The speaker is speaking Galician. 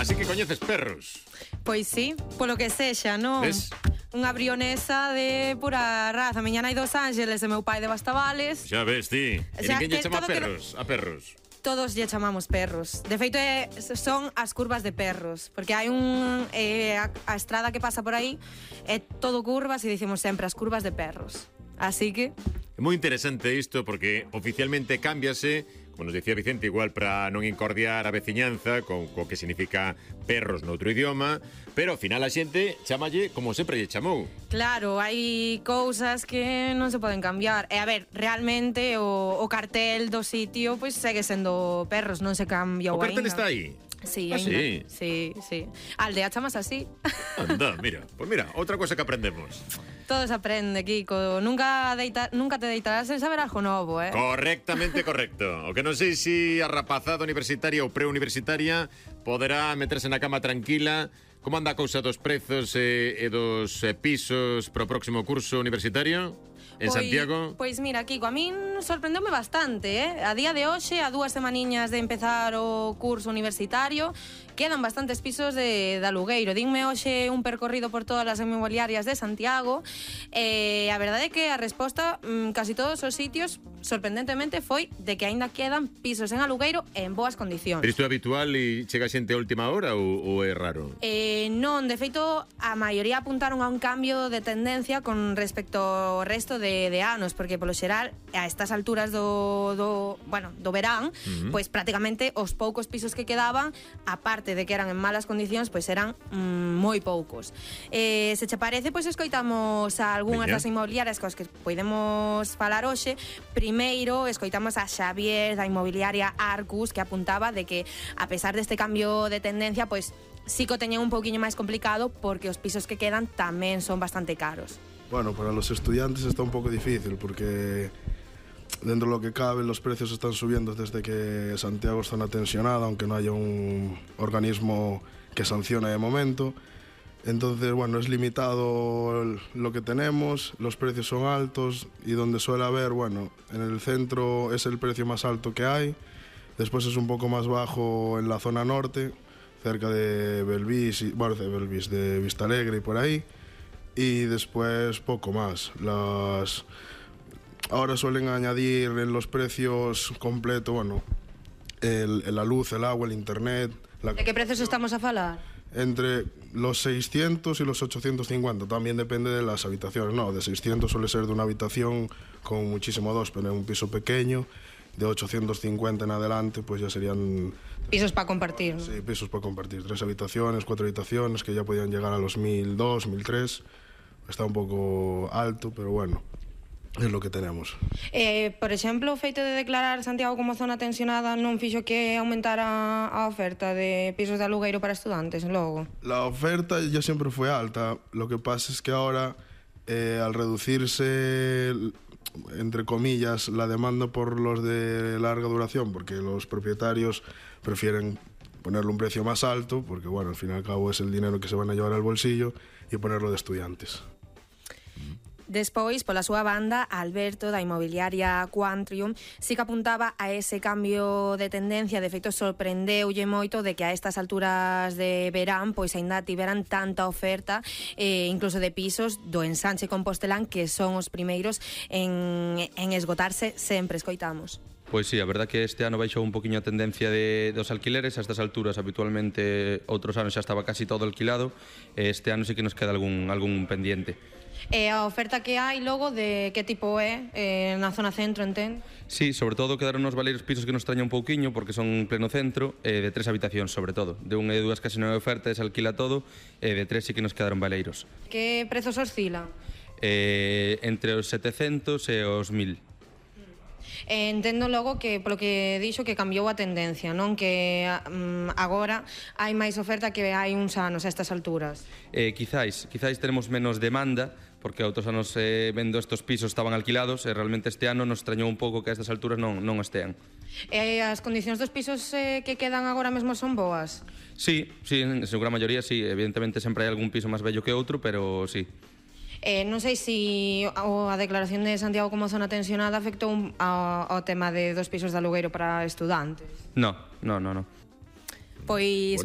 Así que coñeces perros. Pois sí, polo que sexa, non? Ves? Unha brionesa de pura raza. Miña nai dos Ángeles e meu pai de Bastavales. Xa ves, ti. E Xa, ninguén lle que chama todo perros, a perros. Todos lle chamamos perros. De feito, son as curvas de perros. Porque hai a estrada que pasa por aí é todo curvas e dicimos sempre as curvas de perros. Así que... É moi interesante isto porque oficialmente cámbiase, como nos dicía Vicente, igual para non incordiar a veciñanza co que significa perros noutro idioma, pero ao final a xente chamalle como sempre lle chamou. Claro, hai cousas que non se poden cambiar. E a ver, realmente o cartel do sitio pois segue sendo perros, non se cambiou O cartel aínda. está aí. Sí, Ah, aínda. sí? Sí. A aldea chamas así. Anda, mira. Pues mira, outra cosa que aprendemos. Todo se aprende, Kiko. Nunca te deitarás sen saber algo novo, eh? Correctamente correcto. O que non sei se a rapazada universitaria ou preuniversitaria poderá meterse na cama tranquila. Como anda a cousa dos prezos e dos pisos pro próximo curso universitario en Santiago? Pois mira, Kiko, a min sorprendeume bastante, eh? A día de hoxe, a 2 semaniñas de empezar o curso universitario, quedan bastantes pisos de alugueiro. Dinme hoxe un percorrido por todas as inmobiliarias de Santiago e a verdade é que a resposta casi todos os sitios, sorprendentemente, foi de que aínda quedan pisos en alugueiro en boas condicións. Pero isto é habitual e chega xente a última hora ou é raro? Non, de feito, a maioría apuntaron a un cambio de tendencia con respecto ao resto de anos, porque polo xeral, a estas alturas do verán, pois prácticamente os poucos pisos que quedaban, aparte de que eran en malas condicións, pois eran moi poucos. Se che parece, pois escoitamos a algunhas das inmobiliarias cos que podemos falar hoxe. Primeiro, escoitamos a Xavier da inmobiliaria Arcus, que apuntaba de que, a pesar deste cambio de tendencia, pois sí que o teñen un pouquiño máis complicado porque os pisos que quedan tamén son bastante caros. Bueno, para los estudiantes está un poco difícil porque dentro de lo que cabe los precios están subiendo desde que Santiago es zona tensionada, aunque no haya un organismo que sancione de momento. Entonces, bueno, es limitado lo que tenemos, los precios son altos y donde suele haber, bueno, en el centro es el precio más alto que hay, después es un poco más bajo en la zona norte, cerca de Belvís, de Vistalegre y por ahí, y después poco más. Ahora suelen añadir en los precios completos, bueno, la luz, el agua, el internet... De que prezos estamos a falar? Entre los 600 y los 850, también depende de las habitaciones. No, de 600 suele ser de una habitación con muchísimo dos, pero en un piso pequeño. De 850 en adelante, pues ya serían... Pisos para compartir, ¿no? Sí, pisos para compartir. 3 habitaciones, 4 habitaciones, que ya podían llegar a los 1.200, 1.300. Está un poco alto, pero bueno, es lo que tenemos. Por exemplo, o feito de declarar Santiago como zona tensionada non fixo que aumentara a oferta de pisos de alugueiro para estudantes, logo? La oferta ya siempre fue alta. Lo que pasa es que ahora, al reducirse, entre comillas, la demanda por los de larga duración, porque los propietarios prefieren ponerle un precio más alto, porque bueno, al fin y al cabo es el dinero que se van a llevar al bolsillo, y ponerlo de estudiantes. Despois, pola súa banda, Alberto, da inmobiliaria Quantrium, sí que apuntaba a ese cambio de tendencia. De feito, sorprendeulle moito de que a estas alturas de verán pois aínda tiveran tanta oferta, incluso de pisos do ensanche Compostelán, que son os primeiros en esgotarse sempre, escoitamos. Pois sí, a verdad que este ano baixou un poquinho a tendencia dos alquileres. A estas alturas, habitualmente, outros anos xa estaba casi todo alquilado. Este ano sí que nos queda algún pendiente. E a oferta que hai logo de que tipo é na zona centro, entén? Sí, sobre todo quedaron nos valeiros pisos que nos traña un pouquiño porque son pleno centro, de 3 habitacións sobre todo. De 1 e 2 casi non hai oferta, se alquila todo, de 3 sí que nos quedaron valeiros. Que prezos oscilan? Entre os 700 e os 1000. Entendo logo que, polo que dixo, que cambiou a tendencia, non? Que agora hai máis oferta que hai uns anos a estas alturas. Quizáis tenemos menos demanda, porque outros anos vendo estes pisos estaban alquilados e realmente este ano nos extrañou un pouco que a estas alturas non estean. E as condicións dos pisos que quedan agora mesmo son boas? Sí, en su gran maioría sí, evidentemente sempre hai algún piso máis bello que outro, pero sí. Non sei se a declaración de Santiago como zona tensionada afectou ao tema dos pisos de alugueiro para estudantes. No. Pois